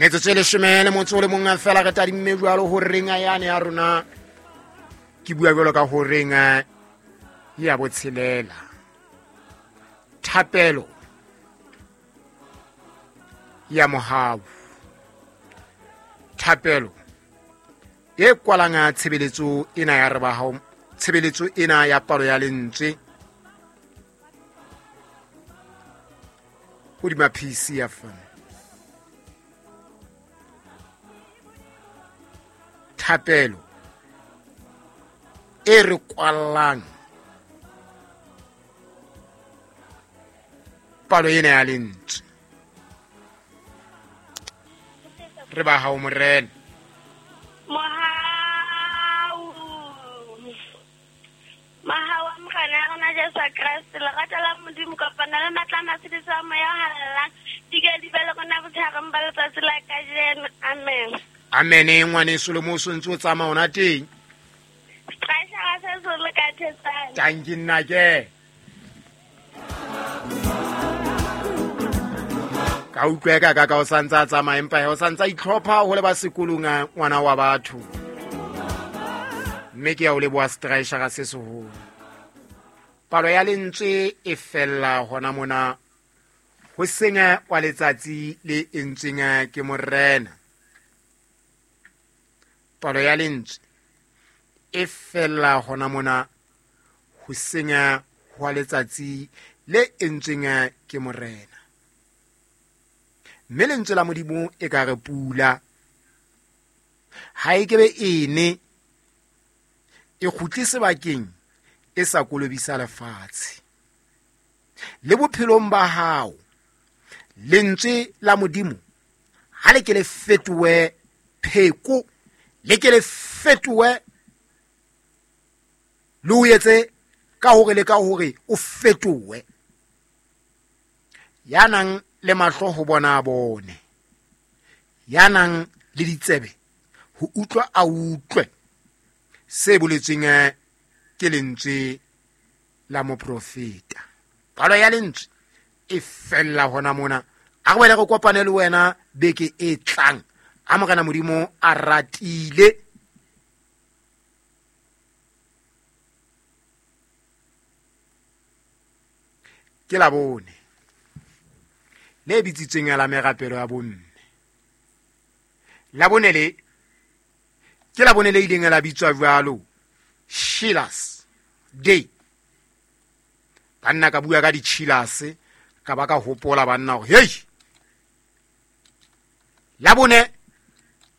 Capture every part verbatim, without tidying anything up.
Metsotso e leshome le motso o le mong fela re tadimme jwalo horeng yane ya rona. Ke bua jwalo ka horeng ya botshelela. Thapelo ya mohau. Thapelo e kwalanga tshebeletso ena ya re ba hao, tshebeletso ena ya palo ya lentswe hodima P C F M. Thapelo e re kwallang palo ena ya lentswe. Re ba hao Morena. Mohau. Mohau wa Morena ya rona Jesu Kreste, lerato la Modimo kopana le matla a matshediso a Moya o Halalelang, di ke di be le rona botshegareng ba letsatsi la kajeno. Amen. Amen. Ngwaneso le mo o ntse o tsamaya ona teng. Strashara se se le ka thetsana. Tanki nna ke. Ka utlwa ka ka o santsa tsamaya empa o santsa itlhopha ho le ba sekolong ngwana wa batho. Mme ke ya o leboha strashara se seholo. Palo ya lentswe e fella hona mona ho senya wa letsatsi le entsweng ke Morena. Palo ya lentswe e fella hona mona ho senya wa letsatsi le entsweng ke Morena. Mme lentswe la Modimo e ka re pula ha e kebe ene e kgutle sebakeng e sa kolobisa lefatshe. Le bophelong ba hao lentswe la Modimo ha le ke le fetohe pheko, le ke le fetohe le o etse ka hore le ka hore o fetohe. Ya nang le mahlo ho bona a bone, ya nang le ditsebe ho utlwa a utlwe se boletsweng ke lentswe la moprofeta. Palo ya lentswe e fella hona mona. A re wele re kopane le wena beke e tlang. A Morena Modimo a ratile. Ke la bone le bitsitsweng la merapelo ya bomme. La bone le ke la bone le ileng la bitswa jwalo Sheilas Day. Banna ka bua ka di-Sheilas ka ba ka hopola banna hore hey, la bone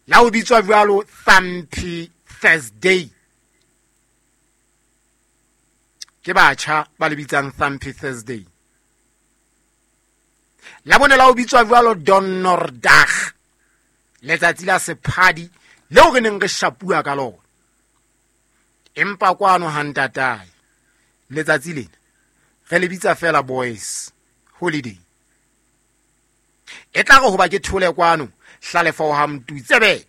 la o bitswa jwalo Thumpy Thursday. Ke batjha ba le bitsang Thumpy Thursday. La bone la o bitswa jwalo Donnerdag, letsatsi la sephadi leo re neng re shapua ka lona. Empa kwano ha ntatae letsatsi lena re le bitsa fela boys holiday. E tla re hoba ke thole kwano hlalefa ho ha mtutsebe